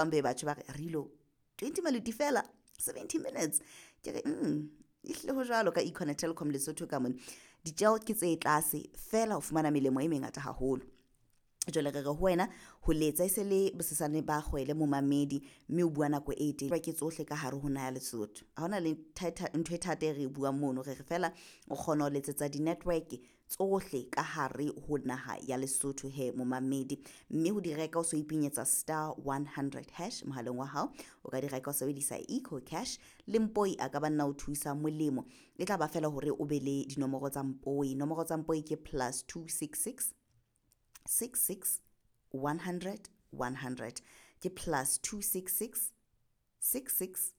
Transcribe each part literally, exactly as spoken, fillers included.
Bang be batjho ba re rilo twenty maluti fela seventy minutes. Ke re mm ehlile ho jwalo ka Econet Telkom Lesotho ka mona. Ditjeho ke tse tlase fela ho fumana melemo e mengata haholo. Jwale re re ho wena ho letsa e se le bosesane ba kgwele momamedi, mme o bua nako e telele ke tsohle ka hare ho naha ya Lesotho. Ha hona le ntho e thata e re e buang mono, re re fela o kgona ho letsetsa di-network tsohle ka hare ho naha ya Lesotho he momamedi. Mme ho di reka o so ipenyetsa star one hundred hash mohaleng wa hao, o ka di reka o sebedisa Eco Cash le Mpoi a ka ba nna o thusa molemo. E tla ba fela hore o be le dinomoro tsa Mpoi. Nomoro tsa Mpoi ke plus two six six six six one hundred one hundred, ke plus two six six six six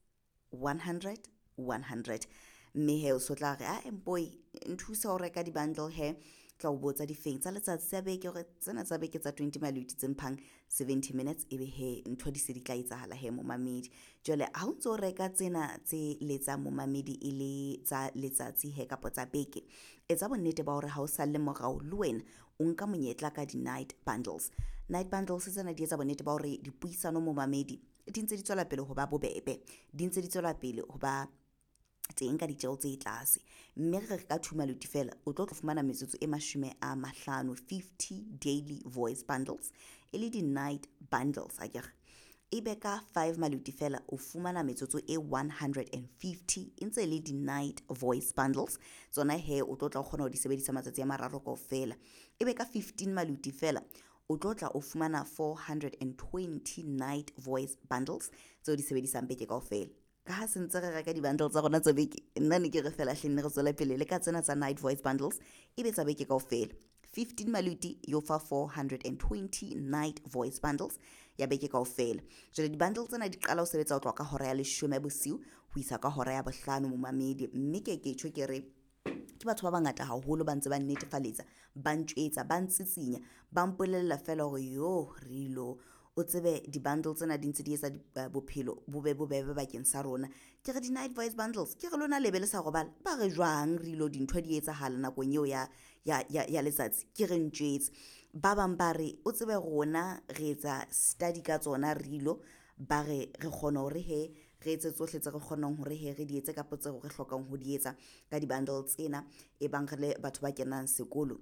one hundred one hundred. Mme he o so tla re a Mpoi nthusa ho reka di-bundle he, tla o botsa difeng tsa letsatsi tsa beke hore tsena tsa beke tsa twenty maluti tse mphang seventy minutes, ebe he ntho di se di tla etsahala he momamedi. Jwale ha o ntso reka tsena tse letsang momamedi e le tsa letsatsi he kapa tsa beke, etsa bonnete ba hore ha o salle morao le wena o nka monyetla ka di-night bundles. Night bundles tsena di etsa bonnete ba hore dipuisano momamedi di ntse di tswela pele ho ba bobebe, di ntse di tswela pele ho ba teng ka ditjeho tse tlase. Mme re re ka two maluti fela o tlo fumana metsotso e mashome a mahlano, fifty daily voice bundles e le di-night bundles akere. Ebe ka five maluti fela o fumana metsotso e one hundred and fifty e ntse le di-night voice bundles tsona he o tlo tla o kgona ho di sebedisa matsatsi a mararo kaofela. Ebe ka fifteen maluti fela o tlo tla o fumana four hundred and twenty night voice bundles tseo di sebedisang beke kaofela. Ka ha se ntse re reka di-bundle tsa rona tsa beke, nna ne ke re fela hle nne re tswele pele le ka tsena tsa night voice bundles ebe tsa beke kaofela. fifteen maluti yo fa four hundred and twenty night voice bundles ya beke kaofela. Jwale di-bundle tsena di qala ho sebetsa ho tloha ka hora ya leshome bosiu ho isa ka hora ya bohlano momamedi. Mme ke ke tjho ke re ke batho ba bangata haholo ba ntse ba nnetefaletsa, ba ntjwetsa, ba ntsitsinya, ba mpolella fela hore yo rilo o tsebe di-bundle tsena di ntse di etsa bophelo bo be bobebe bakeng sa rona. Ke re di-night voice bundles ke re lona lebe le sa robala, ba re jwang rilo dintho di etsahala nakong eo ya ya ya ya letsatsi, ke re ntjwetse. Ba bang ba re o tsebe rona re etsa study ka tsona rilo, ba re re kgona hore he re etse tsohle tse re kgonang hore he re di etse kapa tseo re hlokang ho di etsa ka di-bundle tsena e bang re le batho ba kenang sekolo.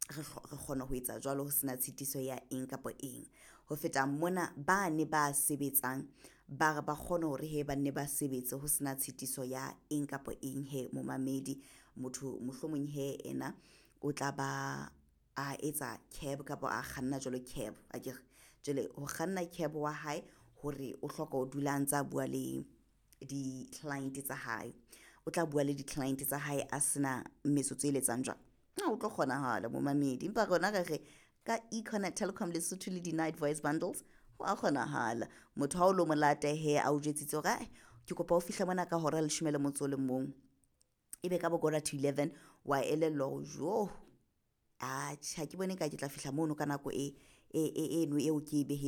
Re kgona ho etsa jwalo ho sena tshitiso ya eng kapa eng. Ho feta mona bane ba sebetsang ba re ba kgone hore he ba nne ba sebetse ho sena tshitiso ya eng kapa eng he momamedi. Motho mohlomong he ena o tla ba a etsa cab kapa a kganna jwalo cab akere. Jwale ho kganna cab wa hae hore o hloka ho dula a ntsa bua le di-client tsa hae, o tla bua le di-client tsa hae a sena metsotso e letsang jwang, ha o tlo kgonahala momamedi. Empa rona re re ka Econet Telkom Lesotho le di-night voice bundles ho a kgonahala. Motho ha o lo mo lata he a o jwetsitse hore ae ke kopa o fihle mona ka hora ya leshome le motso o le mong, ebe ka bo quarter to eleven wa elellwa hore jo atjhe ha ke bone ka ke tla fihla mono ka nako e eno eo ke e behe.